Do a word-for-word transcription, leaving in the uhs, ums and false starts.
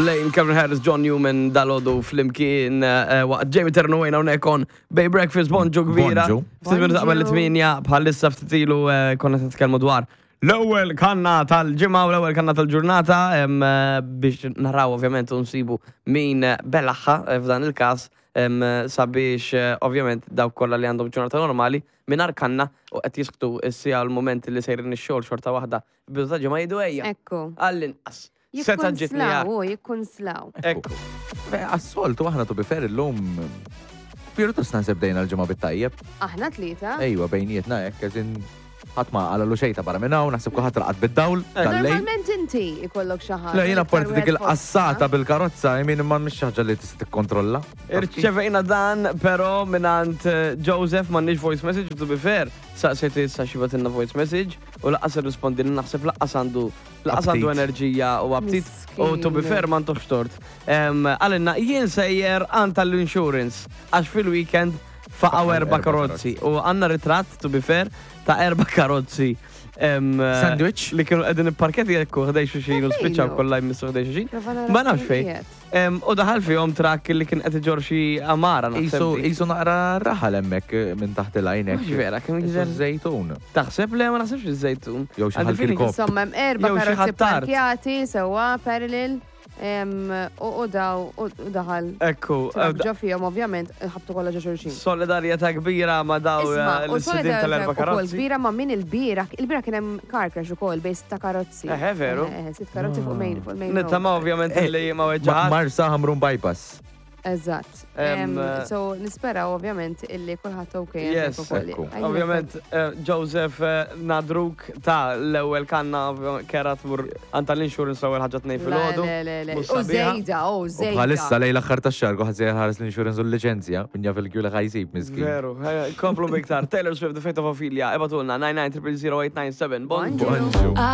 Blaine, Calvin Harris, John Newman, dalgħodu flimkien eh, waqt Jamie Terno wejna unekon Bay Breakfast, bonġu kbira. Bonġu. Ftit minuti qabel Bonġu. it-tminja, bħalissa ftit ilu eh, konna qed nitkellmu dwar l-ewwel kanna tal-ġimgħa u l-ewwel kanna tal-ġurnata em, eh, biex naraw ovvjament u nsibu min eh, belaħħa eh, f'dan il-każ em, sabiex eh, ovvjament dawk kollha li għandhom ġurnata normali mingħajr kanna u qed jisktu s-sija l-moment li sejrin ix-xogħol xorta waħda bidu ta' ġimgħa jgħidu ejja. Ekku. Għall-inqas. Seta ġitni Jikkunslaw, u jikkunslaw. Ekku. Għas-soltu aħna to be fair illum pjuttost naħseb bdejna l-ġimgħa bit-tajjeb. Aħna tlieta. Ejwa, bejnietna hekk, eżin ħadd ma qalalu xejn ta' barra minn hawn, naħseb kulħadd raqad bid-dawl tal-lejl. Normalment inti ikollok xi ħaġa. Le, jiena iktar apparti dik wieħed il-qassata fostna. bil-karozza, jmin imma mhix xi ħaġa li tista' tikkontrolla. Irċevejna dan, pero mingħand eh, Joseph m'għandniex voice message, to be fair, saqsejt issa xi bagħtilna voice message u lanqas irrispondi li naħseb lanqas għandu lanqas għandu Aptit. enerġija u aptit u to be Miskin. fair ma ntuhx tort. Em, Qalilna, jien sejjer għand tal-insurance għax fil-weekend faqgħu erba erba' karozzi u għandna ritratt, to be fair, ta' erba karozzi. em, Sandwich? Li kienu qegħdin ipparkjati ekku ħdejn xulxin u Ta' spiċċaw fejnu? kollha jmissu ħdejn xulxin. Prova nara Ma nafx fejn fejn. qiegħed. Em, U daħal fihom trakk li kien qed iġorr xi għamara naħseb Isu dik. isu naqra raħal hemmhekk eh, minn taħt il-għajnek. Mhux vera, kemm Isu jidher. żejtun. Taħseb le ma naħsebx iż-żejtun. Jew xi Għandi ħal feeling kirkop. Insomma, hemm erba' Jew xi karozzi ħattart. parkjati sewwa parallel em, u u daw u u daħal. Ekku, Trak ġo fihom ovvjament ħabtu kollha ġo xulxin. solidarjetà kbira ma daw Isma, eh, u l-sidin tal-erba solidarjetà ukoll karozzi. kbira ma' min il-bira, il-bira kien hemm car crash ukoll bejn sitta karozzi. Eħe, veru. Eħe, sitt karozzi fuq main fuq main road. Nittama ovvjament Eh, li ma Ma- weġġaħat. Marsa Ħamrun bypass. Eżatt. Em, Em, eh, So nispera ovvjament illi kulħadd okay. Yes. hemmhekk ukoll. Ekku. Għajna Ovvjament, eh, Joseph eh, nadruk ta' l-ewwel kanna ovvjament, kera tmur għand tal-insurance l-ewwel ħaġa tnejn Le, filgħodu. le, le, le. Mhux U sabiħa. żejda, u U żejda. bħalissa lejn l-aħħar tax-xahar kulħadd sejjer ħares l-insurance u l-liċenzja, min jaf il-kju li ħa jsib miskin. Veru, eh, komplu biktar. Taylor Swift, The Fate of Ophelia, ibagħtulna nine nine zero zero eight nine seven. Bonġu. Bonġu.